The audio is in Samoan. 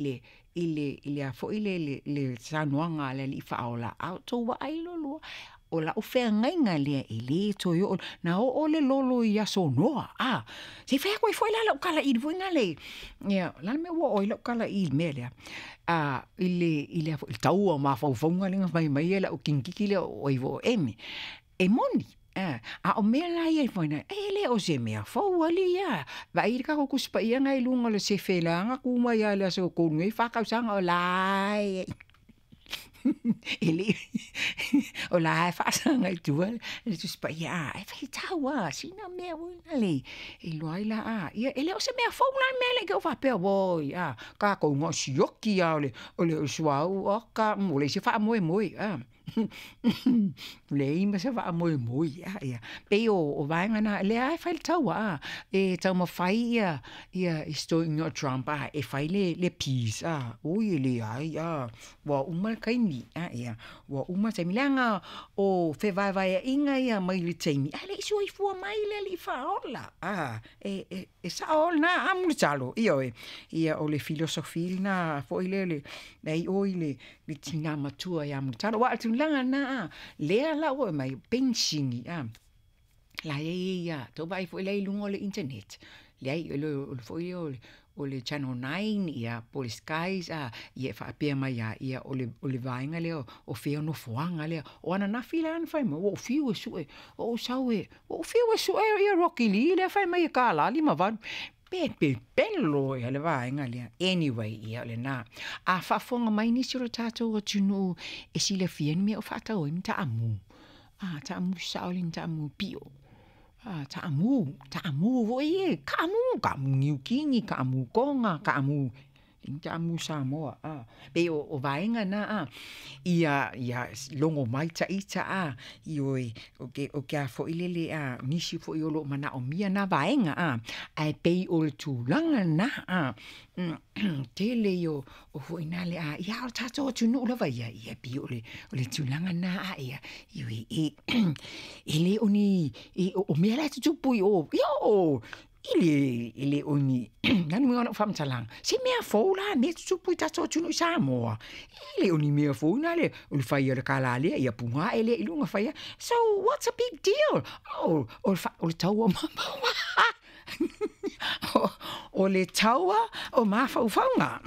le, i le, i le a foi le, le, le saunoaga a le Alii Faaola, a outou vaai loa lua, o lau feagaiga lea e le toe oo, na oo le lolo i aso Noa, a, se i fai atu ai foi la lau tala i i foi lale, ia, o le a le mea ua oo ai lau tala i i le mea lea? I le, i le a foi, le tau o mafaufauga lea na fai mai ai lau teinititi lea o ai foi o Eme. E moni, a o mea la ia e le o se mea fou alii a. Vaai i le tatou Tusi Paia lena e i luga o le sefe la na tu mai lava i le Aso Tolu nei fa tausaga o la e i ai. E le i o la e faasaga i tua le Tusi Paia a, ae faitau lava sina mea foi lale e iloa ai la a, ia e le o se mea fou la le mea lea i te i ua faapea, oi a, tatou na o le sioki lava o le suauu, oka, ua leai se faamoemoe a, leai ma se faamoemoe. E pei o vaega na, o lea lava e fai le taua a, e taumafai si toeaina o Trump e fai le peace a, oi e leai a, ua uma le taimi, ua uma le taimi, leaga o fevaevaeaiga ia mai le taimi ae le i soifua mai le Alii Faaola. E sao lena a Mulitalo? Ioe. Ia o le philosophy lena foi lele, leai oi le tina matua ia Mulitalo. Aua o le tulaga lena a, lea la ua aumai, penisini a, la e i ai lava, tou vaai foi la i luga o le internet, leai o le foi lea o le Channel 9 ia po o le Skies a, ia e faapea mai lava, ia o le vaega lea o fea nofoaga lea. O ananafi la na fai mai, ua ou fiu e sue, ua ou sau e, ua ou fiu e sue ia Rocky Lee lea e fai mai e $1.58. Pe pepelo le vaega lea. Anyway, ia o lena. A faafofoga mai nisi o le tatou atunuu e silafia ni mea o faatau ai ni taamu. A, taamu sao le ni taamu pio. A, taamu, taamu foi e, kaamu, kaamu Niu Kini, kaamu Toga, kaamu, ni taamu Samoa, a. Pei o vaega na a, ia, ia logo mai ita a, ioe, o ke a foi lele a, nisi foi o lo o manaomia na vaega a, ae pei o le tulaga na a, tele ia o foi na le a, ia o le tatou atunuu lava ia, ia pei o le, o le tulaga na a, ia, ioe, e, e le o ni, e, o mea la e tutupu i o, ia o, i le, e le o ni, o le a le uiga o lau faamatalaga, se mea fou la mea e tutupu i tatou atunuu i Samoa. E le o ni mea fou na le, o le fai o le kālā lea, ia puga ae lea i luga fai a. So what's a big deal? Oh, o le, o le taua o le taua o mafaufauga.